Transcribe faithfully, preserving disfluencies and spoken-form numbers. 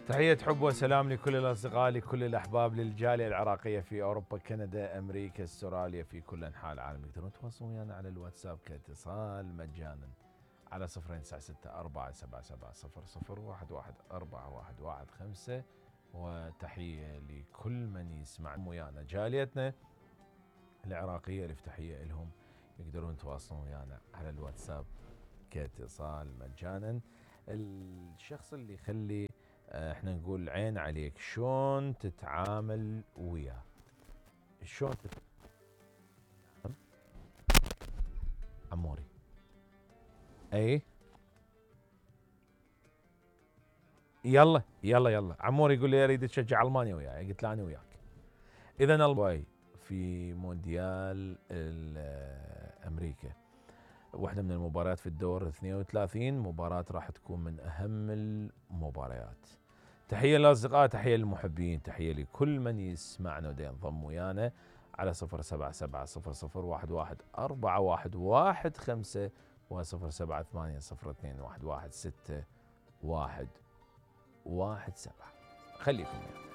تحية حب وسلام لكل الأصدقاء لكل الأحباب للجالية العراقية في أوروبا كندا أمريكا استراليا في كل أنحاء العالم. يقدرون يتواصلون ويانا على الواتساب كاتصال مجانا على صفرين تسعة ستة أربعة سبعة سبعة صفر صفر واحد واحد أربعة واحد واحد خمسة. وتحية لكل من يسمع ويانا جاليتنا العراقية ألف تحية لهم. يقدرون يتواصلون ويانا على الواتساب كاتصال مجانا. الشخص اللي يخلي احنا نقول عين عليك شلون تتعامل وياه، شلون تتعامل عموري اي يلا يلا يلا عموري يقول لي اريد تشجع المانيا وياي، قلت له انا وياك. اذا الواي في مونديال امريكا واحدة من المباريات في الدور اثنين وثلاثين، مباراة راح تكون من اهم المباريات. تحية للأصدقاء، تحية للمحبين، تحية لكل من يسمعنا ودا ينضم ويانا على صفر سبعة سبعة صفر صفر واحد واحد أربعة واحد واحد خمسة وصفر سبعة ثمانية صفر اثنين واحد واحد ستة واحد واحد سبعة. خليكم ويانا.